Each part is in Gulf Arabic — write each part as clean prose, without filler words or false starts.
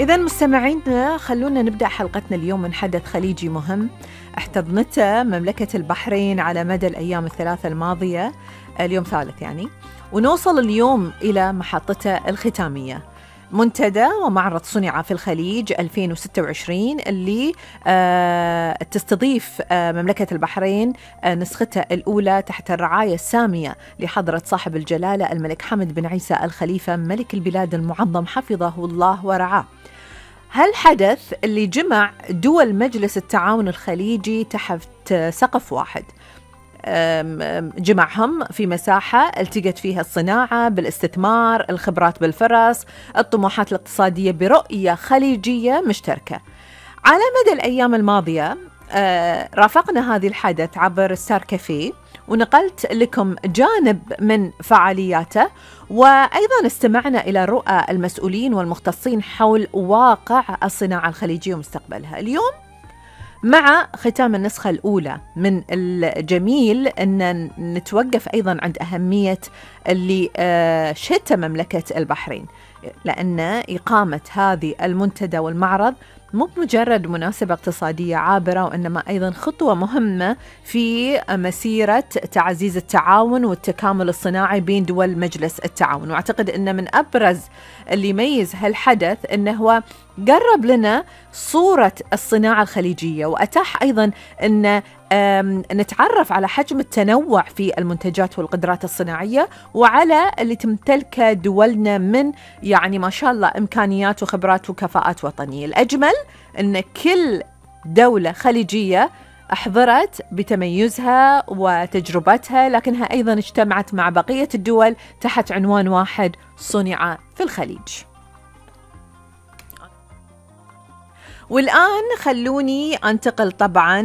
إذا مستمعينا، خلونا نبدأ حلقتنا اليوم من حدث خليجي مهم احتضنته مملكة البحرين على مدى الأيام الثلاثة الماضية، اليوم ثالث يعني، ونوصل اليوم إلى محطته الختامية، منتدى ومعرض صنع في الخليج 2026 اللي تستضيف مملكة البحرين نسخته الأولى تحت الرعاية السامية لحضرة صاحب الجلالة الملك حمد بن عيسى الخليفة ملك البلاد المعظم حفظه الله ورعاه. هالحدث اللي جمع دول مجلس التعاون الخليجي تحت سقف واحد، جمعهم في مساحة التقت فيها الصناعة بالاستثمار، الخبرات بالفرص، الطموحات الاقتصادية برؤية خليجية مشتركة. على مدى الأيام الماضية رافقنا هذه الحدث عبر ستار كافيه، ونقلت لكم جانب من فعالياته، وأيضا استمعنا إلى رؤى المسؤولين والمختصين حول واقع الصناعة الخليجية ومستقبلها. اليوم مع ختام النسخة الأولى، من الجميل أن نتوقف أيضا عند أهمية اللي شهدتها مملكة البحرين، لأن إقامة هذه المنتدى والمعرض مو مجرد مناسبة اقتصادية عابرة، وإنما أيضا خطوة مهمة في مسيرة تعزيز التعاون والتكامل الصناعي بين دول مجلس التعاون. وأعتقد أن من أبرز اللي يميز هالحدث أنه هو قرب لنا صورة الصناعة الخليجية، وأتاح أيضا أن نتعرف على حجم التنوع في المنتجات والقدرات الصناعية، وعلى اللي تمتلكه دولنا من يعني ما شاء الله إمكانيات وخبرات وكفاءات وطنية. الأجمل أن كل دولة خليجية أحضرت بتميزها وتجربتها، لكنها أيضا اجتمعت مع بقية الدول تحت عنوان واحد: صنع في الخليج. والآن خلوني أنتقل طبعا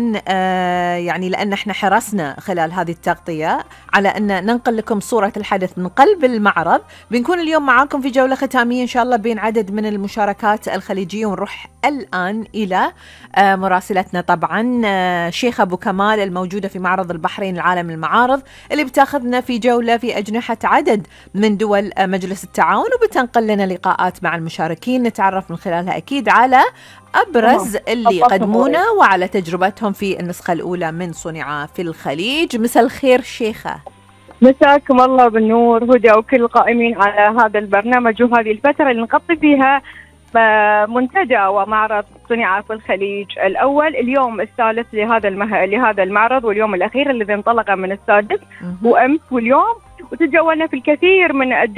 يعني لأن احنا حرصنا خلال هذه التغطية على أن ننقل لكم صورة الحدث من قلب المعرض. بنكون اليوم معاكم في جولة ختامية إن شاء الله بين عدد من المشاركات الخليجية، ونروح الآن إلى مراسلتنا طبعا شيخة أبو كمال الموجودة في معرض البحرين العالم للمعارض، اللي بتاخذنا في جولة في أجنحة عدد من دول مجلس التعاون، وبتنقل لنا لقاءات مع المشاركين نتعرف من خلالها أكيد على أبرز اللي قدمونا وعلى تجربتهم في النسخة الأولى من صنع في الخليج. مساء الخير شيخة. مساكم الله بالنور هدى وكل القائمين على هذا البرنامج وهذه الفترة اللي نغطي فيها منتدى ومعرض صنع في الخليج الأول، اليوم الثالث لهذا المعرض، واليوم الأخير الذي انطلق من السادس وأمس واليوم، وتجولنا في الكثير من الدول